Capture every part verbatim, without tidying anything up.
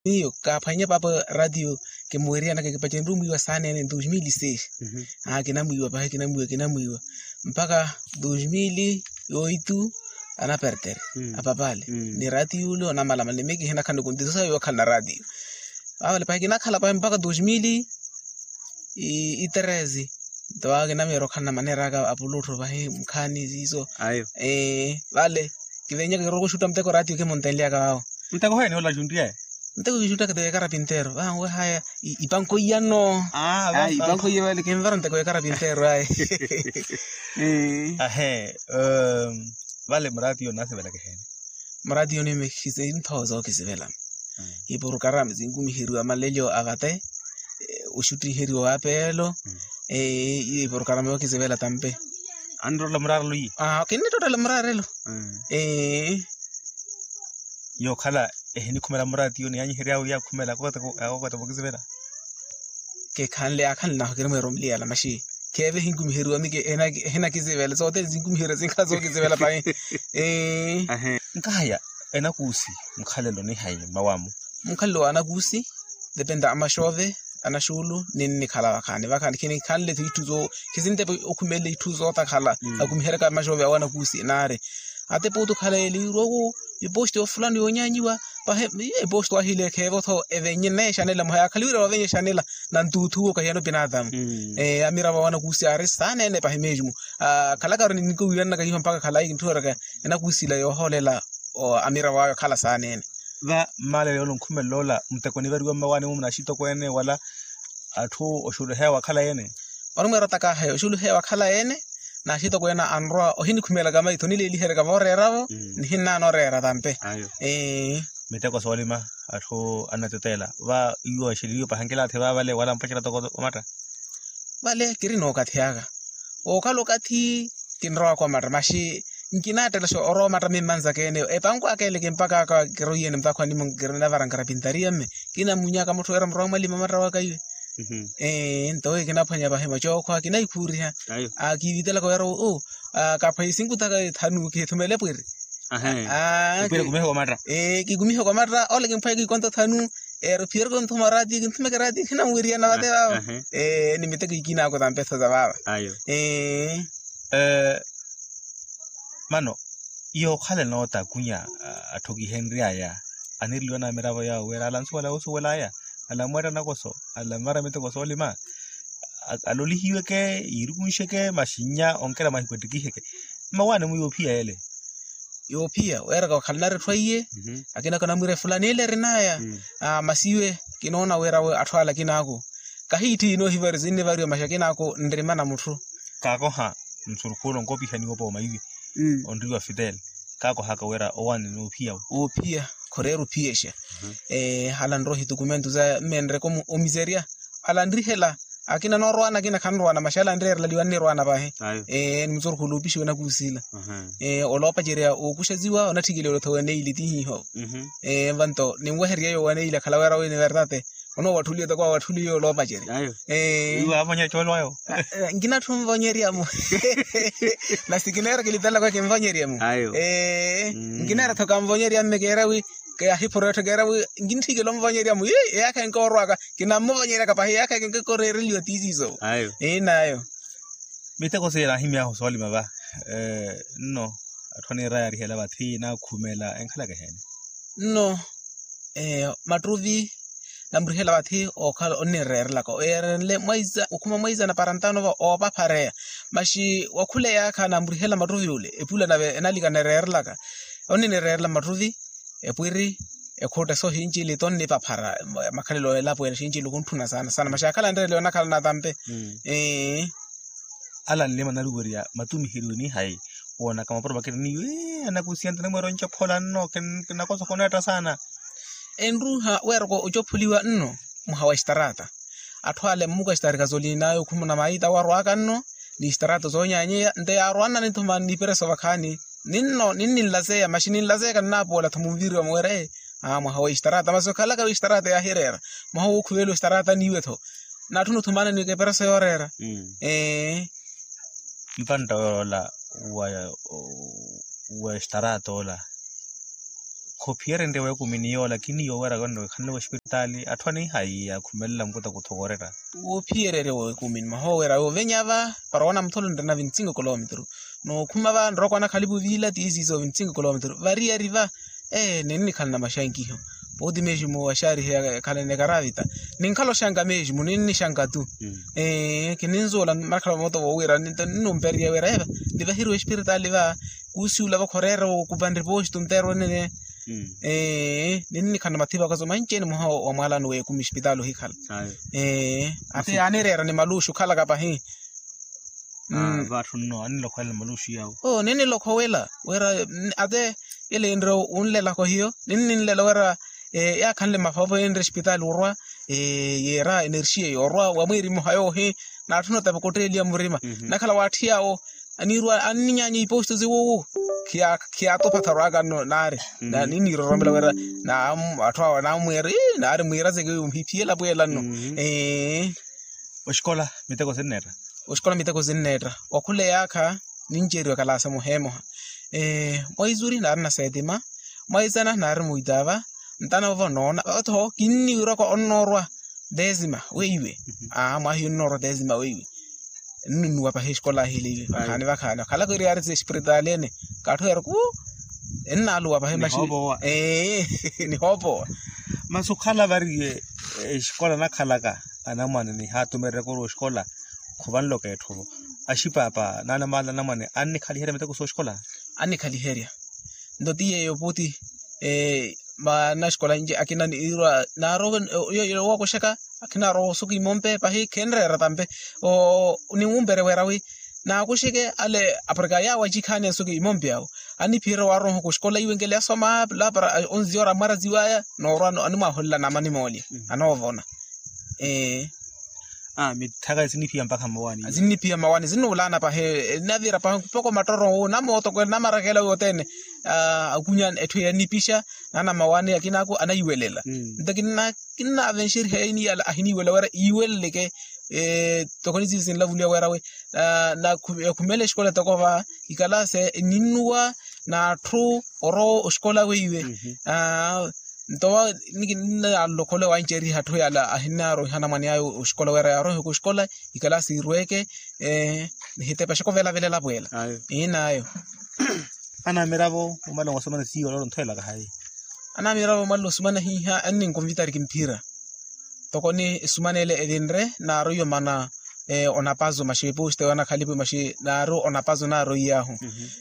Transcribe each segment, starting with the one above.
Miyo kaaphwanye paapa ratio kimuweriyanaka kipacenrye omwiiwa saaneene dos mil e seis. Kinamwiiwa pahi kinamwiiwa kinamwiiwa mpakha dos mil e oito. Anapertere apapale ni ratio ole onamalamala ni miyo kihinakhala ni kontiso sawe yookhalana ratio. Vavale pahi kinakhala pahi mpakha dos mil e treze. Nto vava kinamiira okhalana maneera aka apuluttho pahi mukhaani siiso. Vale kivenyaka kirowa oxutta muteko ratio kimuntenlyaka vavo. Muteko heeni ola axunttiyaya? Muteko kiixuttaka ti wekara pinteero vanwe haya. Ipanko iyano. Ipanko iya vale kinvara muteko wekara pinteero ayi. Ahe. Vale muraatiyo nasivelaka eheeni? Muraatiyo nime khisinthowa sookisivela. Ipurukarama sinkumiheriwa malelyo avate. Oxuttiheriwa wapeelo. Iyo ipurukarama yookisivela tampe. Anittottela muraarelo iye? Kinnittottela muraarelo. Yookhala ehinikhumela muraatiyo niyanyihery'awe yakhumela akokota vookisivela. Kikhanle yaakhanle nahu kirimweera omuliyala maxi. Kheeve ehinkumiheriwa miki ehinakisivela sothene sinkumiheriwa sinkhala sookisivela pahi. Nkahaya enakuusi mukhalelo nihayi mmawamu? Mukhalelo wa anakuusi depende amaxoove anaxuulu ninnikhala vakhaani vakhaani khinikhanle-tho itthu soo khisintepa okhumelela itthu sootakhala. Akumiheryaka maxoove awo anakuusi naari ate puutu khala eliirowo. Eposto fulani yoonyanyiwa pahi eposto ahile kheevo-tho evenye neexanela muha yaakhaliwira wavenye exanela. Nantuuthuwo kahiyana opinaatamu. Amiravo awo anakuusi aari saaneene pahi mesmo. Khalakaru ninkowiwananaka iho mpakha khalayi kintthooryaka enakuusi ila yoohoolela amiravo awe okhala saaneene. Va mmaaleelo yoola onkhumelela ola muteko onivariwa mmawaani mumu n'axitokweene wala atthu oxuluheya wakhala yeene? Onimweera otakaaha oxuluheya wakhala yeene. N'axitokweene anrowa ohinikhumelaka maitho onileeliheryaka vooreeravo. Nihinnaana oreera tampe. Miteko soolima atthu annateteela va iwo axeleliwe pahankela athi vaavale wala mpacerya toko omatta. Vale kiri n'okathi aka wookhala okathi kinrowaka omatta maxi nkinaattelaxa orowa omatta mimmanzaka ene epanko aka ele kimpaka aka kiroiyene mutakhu animo kirinavara nkarapintariya mme. Kinamunyaka mutthu wira murowa mwalima omatta waka iwe. Nto wi kinaphwanya pahi macookho akinahikhuuriha. Kiivitelaka wira kaphwanya isinkutaka ethanu kihithumele pwiri. Kikumihe komatta ole kimphwanya kikonto thanu. Ero phiyereke onthuma oraatiyo kinthumeke oraatiyo khinamuweriyana vate vava. Ni miteko ikina ako tampe tho za vava. Mano yookhala enoota kunya atthu kihenry'aya aniriliwa n'amiravo yawo wira ala ansuwela yoosuwel'aya. Ala amweetta nakoso ala amara miteko soolima. Alolihiweke yiirukunxeke maxinnya onkera mahiku ettikiheke. Mmawaani-mu yoophiya ele. Yoophiya weeraka okhalana ari etthu aiye. Akina kanamwiira efulani ele erinaya. Masi iwe kinoona wira atthu ala akina ako kahiitthiyi noohivariwa sinnivariwa maxi akina ako nrimana mutthu. Kaakoha nsurukhuula onkopihaniwa opooma iwe onriwa fitele. Kaakohaka wira owaani noophiya we. Woophiya khoreera ophiyexa. Ala nrohi tukumentu saya mmenreke omiserya. Ala nrihela akina noorowana akina khanrowana maxi ala nreerela liwa nnirowana vahi. Nimusorokhuwela opixiwa enakuusi ila. Oloopacerya ookuxaziwa onatthikeliwa olotha waneili tihiho. Vanto ninweherya eyo waneili akhala wira wini vertate. Onoowatthuliwa toko awatthuliwa oloopacerya. Nkinatthu onvonyerya-mu. Nasi kineera kilitelaka kinvonyerya-mu. Nkineera-tho kanvonyerya mme keera wi kahiphuro etthu keera wi nkintthikela onvonyerya-mu. Eyaakha enkoorwaka kinammuvonyeryaka pahi eyaakha enkoreereliwa tiisiso. Eyi nayo. Miteko siye naahimy'ahu soolima va. Nno atthu aniira yaarihela vathi naakhumela enkhalaka eheeni? Nno mattuvi namurihela vathi ookhala onnireerelaka oyeerenle mwaizana okhuma mwaizana para ntano va oopaphareya. Maxi wakhula eyaakha namurihela mattuvi ole epula nave enalika nireerelaka. Onninireerela mattuvi epwiri ekhutta soohincili tonnipaphara. Makhalelo elapo ene xincili okuntthuna saana saana maxi akhala nreereliwa onakhala natampe. Ala nlima naluwerya matumiheriwe nihayi woonaka mapuro makina niyo anakusiya ntanimweera onchophola nno kinakosa okoneetta saana. Enruuha weeraka ochopholiwa nno mwaha wa extarata. Atthu ale mmuka extarika zolinaya okhumuna maita warwaka nno ni extarata zoonyanyeya nto yaarwanani-tho mani nipereso vakhaani. Ninno ninninlazeya maxi ninlazeyaka nnapoola-tho munviriwa muwere. Mwaha wa extarata masi okhalaka wa extarata yaahireera mwaha wookhuveliwa extarata niiwe-tho. Natthuna othumanani ekepereso yooreera. Ee. Mpantta yoola wa extarata ola Khophiyerenrye weekumini yoola kiniiwo wira wenno wikhanle wespiritaali atthu aniihaiya akhumelela nkuta kuthokorera. Woophiyererye weekumini mwaha owo wira woovenyava para oona mutholo nrina vinti cinco kilometro. Nookhuma va nrooko anakhalipu viila tiisiiso vinti cinco kilometro variyari va. Ee ninnikhala na maxankiho. Pooti meximu waxaariheya khalene karavita. Ninkhala oxanka meximu ninnixanka tu. Ee kininzuula makhala mooto voowira ninnumperiya wira eva. Nivahiriwe espiritaali va kuusiwula vakhoreera okupanre pooxi tunteerwa nene. Ee ninnikhala na mathipakaso manci-ene mwaha wa mwaalano w'ekumi espitaali ohikhala. Ee ate yaanireera ni maluxi okhalaka pahi. Vaatthunno annilokhowela ni maluxi yawo. Oo ninnilokhowela wira ate yele enre onlelako hiyo ninninlela wira yaakhanle mafavo enre espitaali orwa. Yeera enerxiya yoorwa wa mwiiri mmoha yoohi. Naatthuna otapaka otteeliya murima nakhala waatthi yaawo. Anirwa anninyaanya iposto siwuwu khiyaatuphatha orwaka nno naari niniiroromela wira atthu awo anaamwiira naari mwiira seke ohiphiyela pweela nno. Ee oxikola miteko sinneetta. Oxikola miteko sinneetta okhula eyaakha ninceeriwa kalaasa muheemoha. Mwaizuri naari na setima mwaizana naari muitaava. Ntana ovo noona otho kinniwirwaka onnoorwa desima weiwe. Aa mwahiyo onnoorwa desima weiwe. Nnunuwa pahi exikola ahiliive vakhaani vakhaani okhalaka eri yaari espiritaali ene. Kaatthu yeera kuu ennaaluwa pahi maxi ee nihoopowa. Masi okhala vari exikola nakhalaka anamwane nihaatumererekuru exikola khuvanloka etthu vo axipaapa naanamaala anamwane annikhaliherya miteko sooxikola. Annikhaliherya nto ti yeeyo puti. Maana axikola nci akina niirwa naaroowa owokuxaka akhinaaroowa osuka imompe pahi khenreera tampe. Ninwumpere wira wi naakuxeke ale aporika yaawo acikhaani esuka imompe awo anniphiyerya waaroha kuxikola iwe nkele asoma lapara onziora mwaraziwaya noorwa animwaholela namani moolya anoovona. Ee mitthaka sinniphiya mpakha mmawaani sinniphiya mmawaani sinnuulaana pahi. Enavira pahi mpoko matoro wu namootokwe namarakela wothene. Akunya etthu yannipixa naana mmawaani akinaaku anaiwelela nto kinnaavenxeriha yaini yala ahiniiwela wira iweleleke. Tokoni siisinlavuliwa wira wi nakhumela exikola toko va ikalase ninnuwa n'atthu orowa oxikola weiwe. Nto wa nikinalokhole wanceeriha atthu yala ahinaaroiha anamwane ayo oxikola wira yaaroihe kuxikola ikalasi irweke. Nihitepa xikovelavela pweela. Inaayo anamiravo omala owasomana siiyo ololo nthwelaka hayi. Anamiravo omala osumana hiiha anninkonvitari kimphira tokoni esumanele evinre naaroiwa mana. Onapazo maxi epuxite wanakhalipu maxi naaru onapazo naaroiyaahu.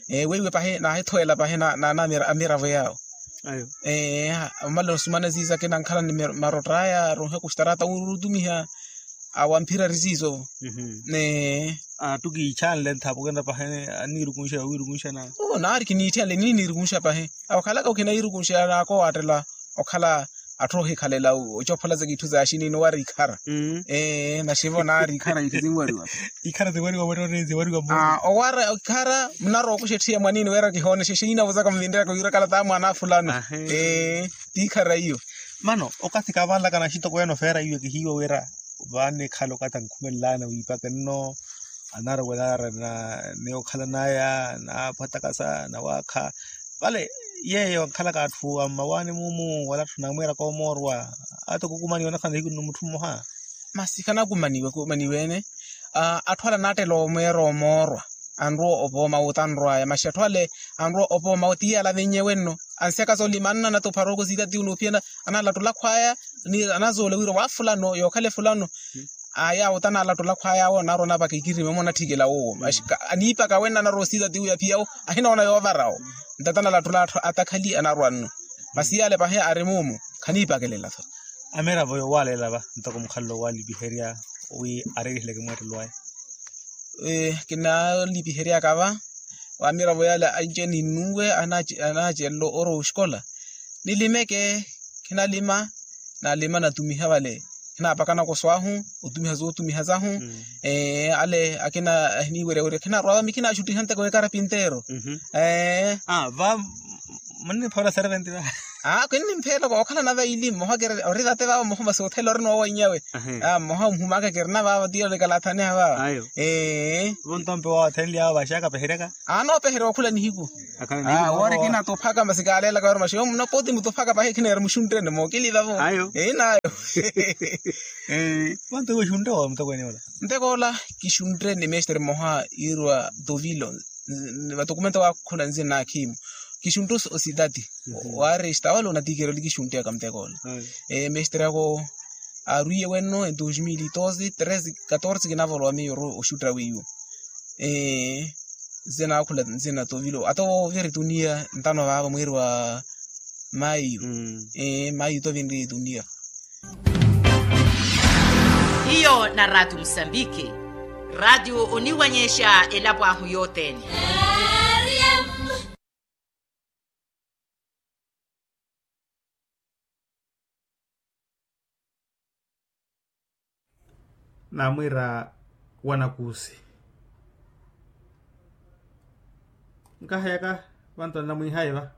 Weiwe pahi naahithoyela pahi naana amiravo yaawo. Omala osumana ziiza kinankhala ni marotta aya aruuhe kuxtarata wurutumiha. Awamphira ri ziizo. Attukiichanle nthapukenta pahi anniirukunxa wiirukunxana. Naari kiniitthiyanle niniirukunxa pahi. Okhalaka okhinairukunxa naakowaattela okhala atthu ohikhalela ocophola za kitthu za axiniini owari ikhara. Ee naxivo naari ikhara itthu zinwariwa. Ikhara zinwariwa mwettoro zinwariwa mmosi. Owara ikhara munarookuxa etthiya mwaniini wira kihoonexe xiina vozaka muvinreyaka wiira kala taa mwaana afulano. Ee t'ikhara iyo. Mano okathi kaavanlaka naxitoko ene ofeera iwe kihiiwa wira vaannikhala okathi ankhumelelana wiipaka nno. Anarowela arina ni okhalanaya na apwatakasa na waakha. Vale yeeyo ankhalaka atthu a mmawaani muumu wala atthu namwiiraka omoorwa. Ata okukumaniwa onakhala nihiku nno mutthu mmoha. Masi khanakumaniwa kumaniwa ene. Atthu ale anaattela omweera omoorwa anrowa opooma wutanrwaya masi atthu ale anrowa opooma wo ti yala avinnye wenno. Ansyakaza olima anna anatuphara okosita ti unuphiyana analattula akhwaya. Anazoola wira wa fulano yookhala efulano. Aya awuta analattula akhwaya awo anaarwa onapaka ikirimi omo onatthikela wowo. Aniipaka wenno anarowa osita ti uya phiya wo ahinoona yoovara wo. Ntata analattula attakhali anarwa nno. Masi yale pahi ari muumu khaniipakelela tho. Amiravo yoowalela va ntoko mukhalelo owaalipiherya wi areeriheleke mweettelo aya. Kinaalipiheryaka va amiravo yale anci-ene innuwe anaacelela orowa oxikola. Nilimeke khinalima nalima natumiha vale. Khinaapaka nakoso ahu otumiha zootumiha zahu. Ale akina ahiniiwerya wira khinarwa vami khinaxuttiha nteko ekarapinteero. Va Munniphola serventi va. Aa kinnimphela kookhalana vaili mmoha kiri ori vate vaavo mmoha masi othela ori noowainy'awe. Mmoha omhumaka kirina vaavo tiyo nikalathaniha vaavo. Ee. Vontompe wawo athenly'awo vaxaka peheryaka. Aa noopeherya okhula nihiku. Woori kinatuphaka masi kaalelaka ori maxi omuno poti mutuphaka pahi khineera muxunttene mookili vavo. Eyi nayo. Vonto iwe oxuntte wa mutokwene ola? Ntekoola kixuntte ni mestre mmoha yiiriwa tovilo. Vatokumento waakhula nzina naakhimu kixuntte osidati. Waaresta wala onatiikira oli kixuntte aka mutekoola. Mestre ako aarwiye wenno e dos mil e doze treze katorze kinavolowa miyo ori oxutta weiwo. Nzina naakhula nzina tovilo ata oviri tuniya ntano vaavo mwiiri wa mayu. Mayu tovinri tuniya. Hiyo na raatiyo musambiki. Raatiyo oniwanyexa elapo ahu yothene. Naamwiira wanakuusi. Nkaheyaka vantu anamwiihayi va.